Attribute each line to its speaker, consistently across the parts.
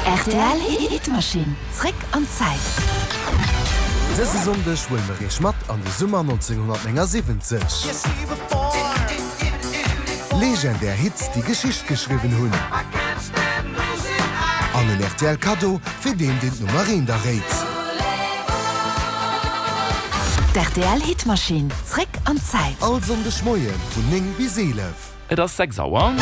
Speaker 1: Rtl Hitmachine, zréck an d'Zäit.
Speaker 2: Dëse Sonndeg huele mer iech mat an de Summer 1979. Legendär Hits, déi Geschicht geschriwwen hunn. An en rtl Kaddo fir deen, deen d'Nummer eent erréit.
Speaker 1: D'RTL Hitmachine, zréck an d'Zäit.
Speaker 2: All Sonndeg Moie vun 9 bis 11.
Speaker 3: Et ass 6 Auer.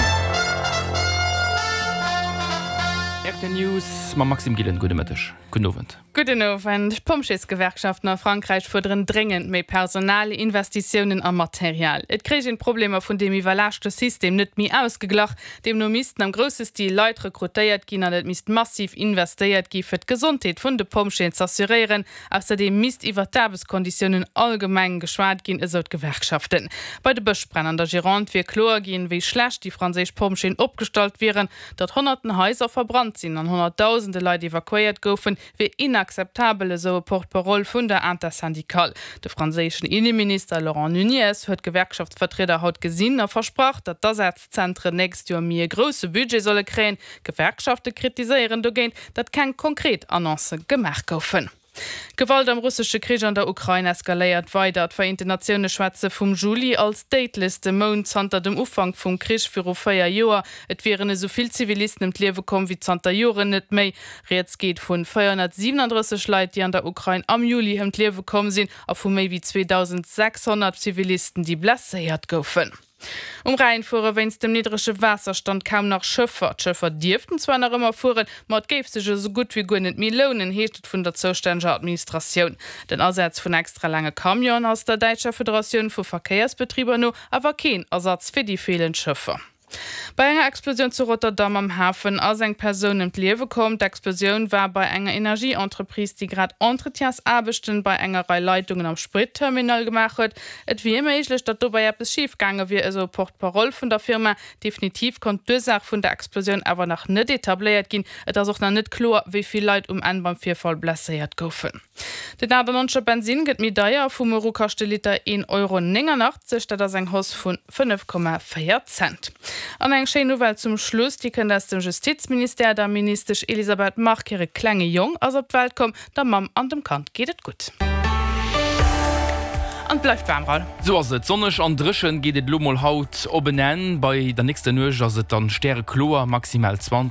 Speaker 3: Rtl News mam Maxime Gillen. Gudde Mëtteg, gudden Owend.
Speaker 4: Gudden Owend. D'Pompjeesgewerkschaften a Frankräich fuerderen dréngend méi Personal, Investitiounen a Material. Et kréich een d'Problemer vun deem iwwerlaaschte System net méi ausgeglach. Deemno missten am grousse Stil Leit rekrutéiert ginn an et misst massiv investéiert gi fir d'Gesondheet vun de Pompjeeën z'assuréieren. Ausserdeem misst iwwer d'Aarbechtskonditiounen allgemeng geschwat ginn, esou d'Gewerkschaften. Bei de Bëschbränn an der Gironde wier kloer ginn, wéi schlecht déi franséisch Pompjeeën opgestallt wieren. Datt honnerten Haiser verbrannt sinn an honnertdausende Leit evakuéiert goufen, wier inakzeptabel, esou e Porte-parole vun der Intersyndicale. De franséischen Inneminister Laurent Nunez huet d'Gewerkschaftsvertrieder haut gesinn a versprach, datt d'Asazentren nächst Joer méi e grousse Budget solle kréien. D'Gewerkschafte kritiséieren dogéint, datt keng konkret Annoncë gemaach goufen. D'Gewalt am russesche Krich an der Ukrain eskaléiert weider. D'Vereenten Natioune schwätze vum Juli als déidlechste Mount zanter dem Ufank vum Krich viru 4 Joer. Et wieren esou vill Zivilisten ëm d'Liewe komm wéi zanter Joren net méi. Rieds geet vun 437 Leit, déi an der Ukrain am Juli ëm d'Liewe komm sinn a vu méi wéi 2.600 Zivilisten, déi blesséiert goufen. Um Rhäin fuere wéinst dem niddrege Waasserstand kaum nach Schëffer. D'Schëffer dierften zwar nach ëmmer fueren, ma et géif sech esou gutt wéi guer net méi lounen, heescht et vun der zoustänneger Administratioun. Den Asaz vun extra laange Camionen ass der däitscher Federatioun vu Verkéiersbetriber no awer keen Ersatz fir déi feelend Schëffer. Bei enger Explosioun zu Rotterdam am Hafen ass eng Persoun ëm d'Liewe komm. D'Explosioun war bei enger Energieentreprise, déi grad Entretiensaarbechten bei enger Rei Leitungen am Spritterminal gemaach huet. Et wier méiglech, datt dobäi eppes schif gaange wier, esou e Porte-parole vun der Firma. Definitiv konnt d'Ursaach vun der Explosioun awer nach net etabléiert ginn. Et ass och nach net kloer, wéi vill Leit um Enn beim Virfall blesséiert goufen. Den 98er Bensinn gëtt méi deier, Vu muer u kascht de Liter 1,89 Euro, dat ass eng Hausse vu 5,4 Cent. An eng schéin Nouvelle zum Schluss, déi kënnt aus dem Justizministère, Der Ministesch Elisabeth Margue hire klenge Jong ass op d'Welt komm. Der Mamm an dem Kand geet et gutt. An et bleift waarm, Raoul.
Speaker 3: Sou ass et, sonneg an dréchen geet et elo mol haut op en Enn. Bei der nächster Nuecht ass et dann stärekloer, maximal 20.